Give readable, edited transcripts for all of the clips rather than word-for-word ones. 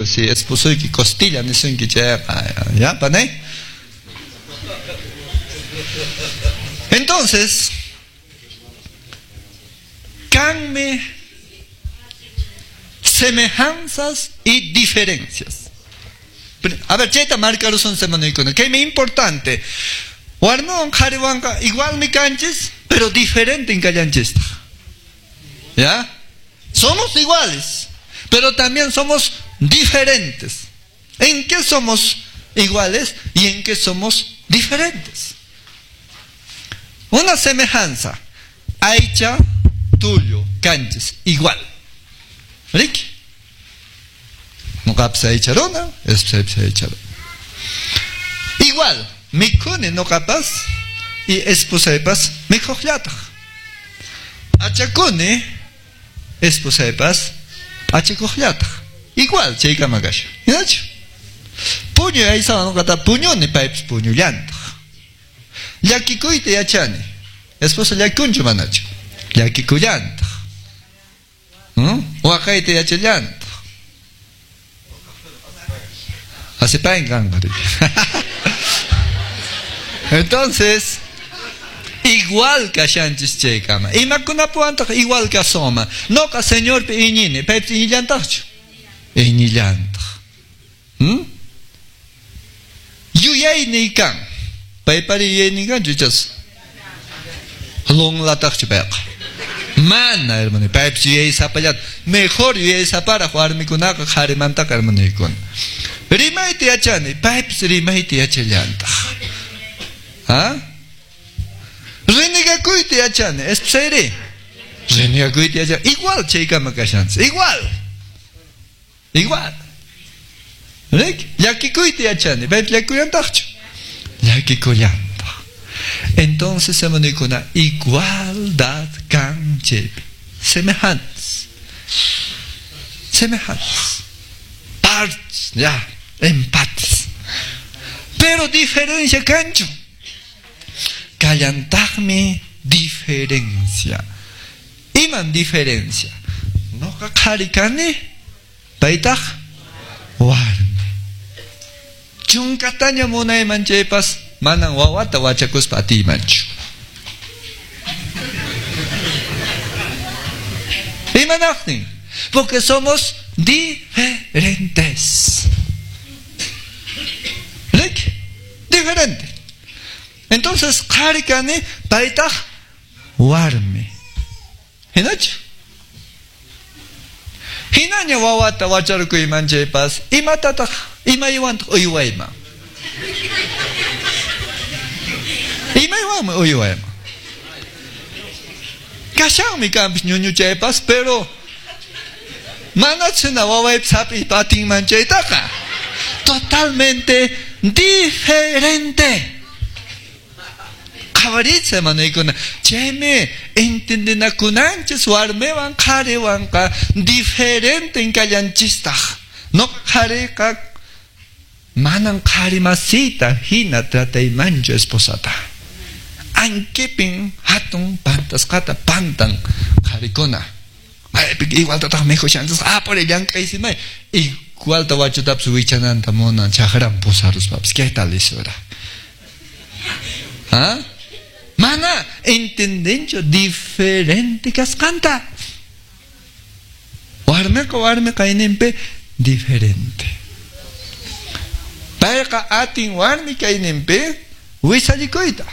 Si esposoyki costilla nisunki chayqa, ya, panay. Entonces, kanmi semejanzas y diferencias. A ver, chayta marcarusun semanaykuna. Kaymi importante. Warmiwan qhariwanqa igualmi kanchis, pero diferenten kallanchistaq. ¿Ya? Somos iguales, pero también somos diferentes. ¿En qué somos iguales y en qué somos diferentes? Una semejanza. Aycha, tullu, kanchis, igual. Riki? Ñuqapas aycha runa, esposaypas aycha runa. Igual, mikhuni ñuqapas y esposaypas mikhuqllataq. P'achakuni, esposaypas p'achakuqllataq. Igual chaykama kashan. Hinachu? Puñuy aysawan ñuqata puñuni, paypas puñullantaq. Llakikuyta yachani. Esposa llakikunchu manachu? Llakikullantaq. Waqayta yachallantaq. Asipayn kanqa. Entonces, igual kashanchis chaykama. Imakunapuwantaq igual kasoma. Noqa Señorpi iñini, paypis iñillantaqchu? Iñillantaq. Yuyayniy kan. Paypari yuyaynin kanchu ichas? Lunlataqchu payqa? Mana, hermano, paypis yuyaysapallata. Mejor yuyaysaparaq warmikunaqa qharimantaqa, hermanoykuna. Rimayta yachani, paypis rimayta yachallantaq. ¿Ah? Renegakuyta yachani, esposayri. Renegakuyta yachani. Igual chaykama kashanchis, igual. Igual. Rik? Llakikuyta yachani, paypis llakikullantaqchu? Llakikullantaq. Entonces, hermanoykuna, igualdad kan chaypi. Semejantes. Semejantes. Partes, ya, empates. Pero diferencia kanchu. Kallantaqmi diferencia. Iman diferencia. Noqa qhari kani, paytaq warmi. Chunkataña munayman chaypas manan wawata wachakuspa atiymanchu. Imanaqtin? Porque somos diferentes. Rik? Diferente. Entonces, qhari kani, paytaq warmi. Hinachu? Hinaña wawata wacharkuyman chaypas, imatataq, imaywantaq uywayman? Imaywanmi uywayman. Kashanmi kanpis ñuñu chaypas, pero manachuna wawaypas hap'iypa atinman chaytaqa. Totalmente diferente. Qhawaritsa, hermanoykuna. Chaymi entendinakunanchis warmiwan qhariwanqa diferenten kallanchistaq. Noqa qhariqa manan qhari masiyta hina trataymanchu esposata. Ankipin hatun pantasqata pantan qharikuna. Maypi igualtataq mikhushanchis, apuri llank'aysimay. Igualta wachutapis wichananta munan chakran pusaruspapis. ¿Qué tal isura? ¿Ah? Mana entendenchu diferente kasqanta. Warmiqa warmi kayninpi diferente. Payqa atin warmi kayninpi wisallikuyta.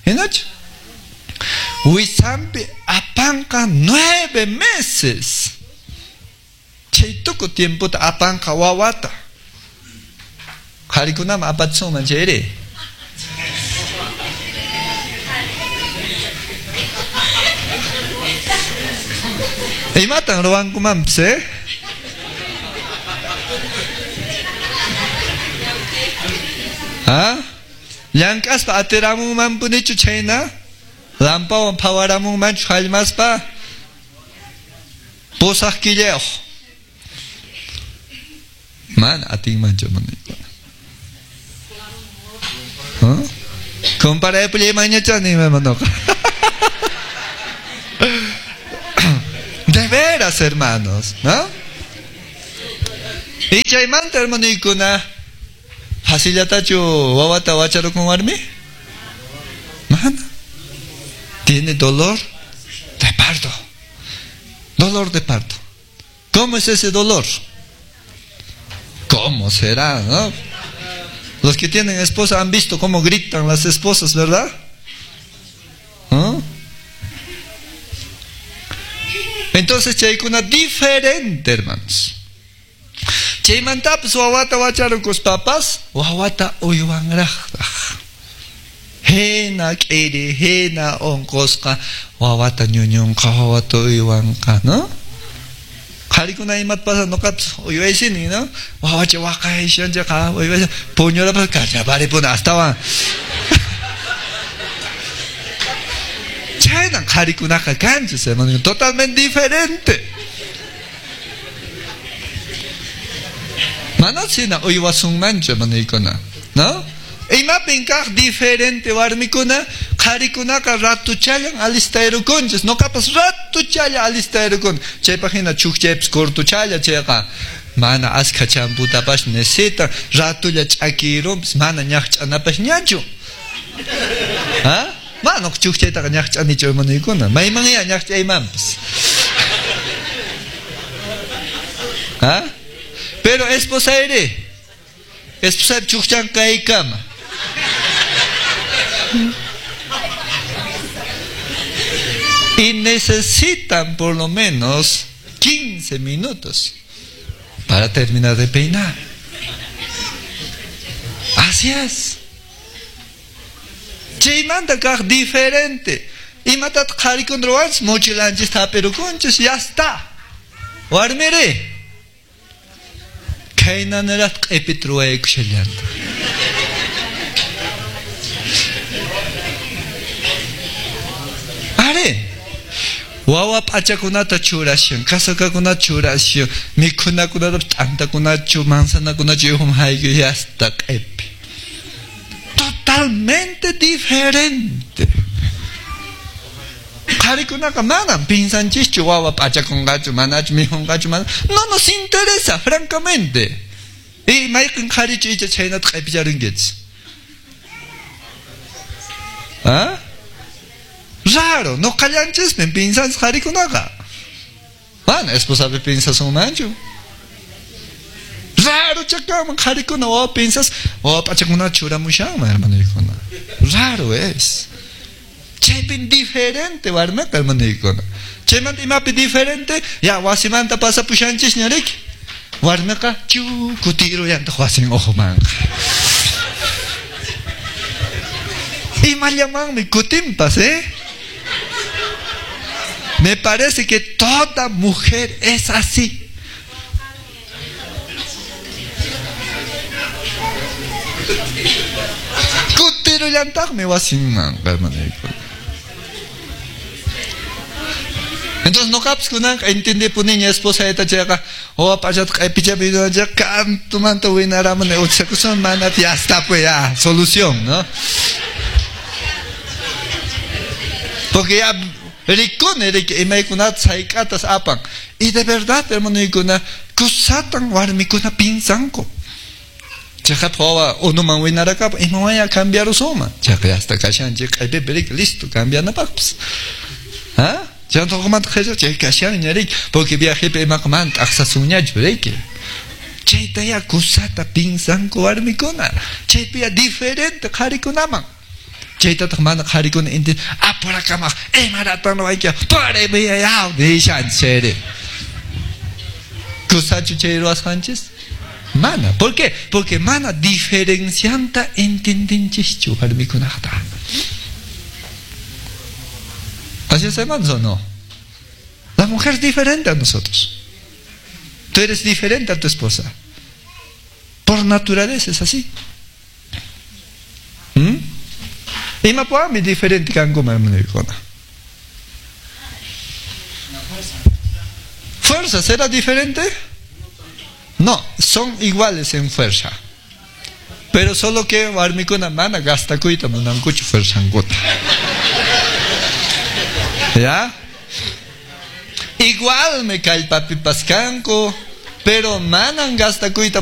Hinachu? Wisampi apanqa 9 meses. Chay tuku tiempota apanqa wawata. Qharikunaman apatsunman chayri. Imatan ruwankumanpis, eh? ¿Ah? Llank'aspa atiramunmanpunichu chhayna? Lampawan phawaramunmanchu hallmaspa? 8 killayuq. Mana atinmanchu manikuna. ¿Ah? Comparaypullaymanñachani hermanoqa. De veras, hermanos, ¿no? Y chaymanta hermanuykuna, facillatachu wawata wacharukun warmi? Mana. Tiene dolor de parto. Dolor de parto. ¿Cómo es ese dolor? ¿Cómo será, no? Los que tienen esposa han visto cómo gritan las esposas, ¿verdad? ¿Ah? Entonces chaykuna diferente, hermanos. Chaymantapas wawata wacharukuspapas wawata uywanraqtaq. Hina k'iri, hina unqusqa wawata ñuñunqa, wawata uywanqa, ¿no? Qharikuna imata pasa nuqapas uywaysini, ¿no? Wawacha waqayshanchaqa uywaysan puñurapas kachaparipuna astawan. Chaynan qharikunaqa kanchis, hermano, totalmente diferente. Mana sina uywasunmanchu, hermanuykuna, ¿no? Imapin kaq diferente warmikuna, qharikunaqa ratuchallan alistayrukunchis, nuqapas ratuchalla alistayrukun. Chaypaq hina chukchaypas cortuchalla chayqa mana askha champutapas necesita, ratulla ch'akirunpas mana ñaqch'anapas ñachu. ¿Ah? Mana chukchaytaqa ñaqch'anichu, hermanuykuna, maymanya ñaqch'aymanpas. ¿Ah? Pero esposayri, esposaypi chukchan kaykama. Y necesitan por lo menos 15 minutos para terminar de peinar. Así es. Chaymanta kaq diferente. Imatataq qharikuna ruwanchis, mochilanchis tapirukunchis, ya está. Warmiri, khaynaniraq q'ipita ruwaykushallanta. Are, wawa p'achakunata churashan, kasakakunata churashan, mikhunakunata t'antakunachu, manzanakunachu yuhum hayku, ya está q'ipi. Totalmente diferente. Qharikunaqa manam pinsanchischu wawa p'achakunqachu, manachu mikhunqachu, mana. No nos interesa, francamente. Y mayqin qharichu icha chhaynata q'ipicharunkichis. ¿Ah? Raro, no qallanchismi pinsanchis qharikunaqa. Mana esposapi pinsasunmanchu. Raro chakaman qharikuna wawa pinsas, wawa p'achakunata churamushanman, hermanuykuna. Raro es. Chaypin diferente warmiqa, hermanuykuna. Chaymanta imapi diferente, ya wasimanta pasapushanchis ñariki. Warmiqa chu kutiruyantaq wasin uhumanqa. Imallamanmi kutinpas, ¿eh? Me parece que toda mujer es así. Kutiruyantaqmi wasinmanqa, hermanuykuna. Entonces nuqapas kunanqa entendipuniña esposayta chayqa wawa p'achata q'ipichapi kantumanta winaramuni utsakusun mana fiesta pues ya solución, ¿no? Porque ya rikuni riki imaykunata sayk'atas apan. Y de verdad, hermanuykuna, kusatan warmikuna pinsanku. Chayqa wawa unuman winarakapa imawanya cambiarusunman. Chayqa ya hasta kashanchik q'ipipi riki listo cambianapaqpas. ¿Ah? Chayta chay kashanña riki, porque viajepi imaqa mana t'aqsasunñachu riki. Chayta ya kusata pinsanku warmikuna. Chaypi ya diferente qharikunaman. Chaytataq mana qharikuna inti apurakamaq imaratan ruwayki paribiyayaw nishanchis. Kusachu chay ruwasqanchis? Mana. ¿Por qué? Porque mana diferencianta entendenchischu warmikunaqta. ¿Así es, hermanos, o no? La mujer es diferente a nosotros. Tú eres diferente a tu esposa. Por naturaleza es así. ¿Mm? Imapuami diferente kankuman, hermanukuna. ¿Fuerza será diferente? No, son iguales en fuerza. Pero solo que warmikuna mana gastakuyta munankuchu fuerzankuta. ¿Ya? Igual me kallpapipas kanku, Pero manan gastakuyta.